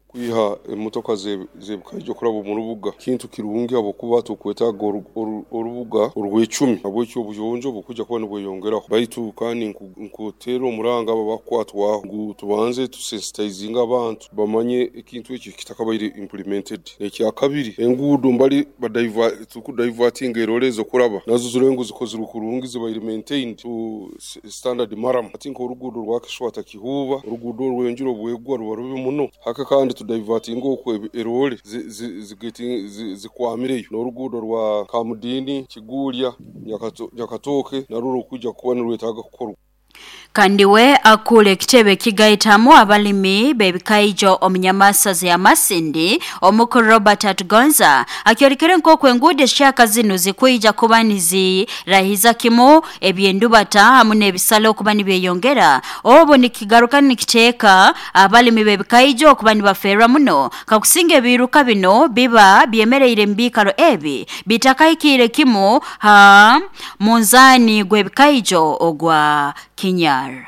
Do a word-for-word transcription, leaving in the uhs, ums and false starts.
Kwiha emotoka z'ebikaijo kuraba omu rubuga kintu kirungi, habwokuba tukwetaaga orubuga orwecumi, habweki obuyonjo bukwija kuba nibweyongeraho. Baitu kandi nkuteera omuranga abo abakukwatwaho ngu tubanze tusensitizinge abantu bamanye ekintu eki kitakabaire implemented. Ekyakabiri, enguudo mbali tukudivertinga erore ezokuraba nazo zirole ngu zikozirwe kurungi, zibaire maintained to standard murram. Hati nk'oruguudo rwa Kishwata Kihuuba, oruguudo orw'enjura obwegwa ruba rubi muno. Hake kandi tudivertinge okwo erore zikwamireyo, n'oruguudo rwa Kamudini Kiguulya Nyakatooke narwo rukwija kuba nirwetaaga kukorwa. Kandi we akura ekitebe kigaitamu abalimi b'ebikaijo omu nyamasaza ya Masindi, omukuru Robert Atugonza, akyorekere nk'oku enguudo ezikyaka zinu zikwija kuba nizirahiza kimu ebyendubata hamu n'ebisale okuba nibyeyongera, obu nikigaruka nikiteeka abalimi b'ebikaijo okuba nibaferwa muno kakusinga ebiiruka bino biba byemereire mu biikaro ebi bitakahikiire kimu ha munzaani gw'ebikaijo ogwa Kinyara.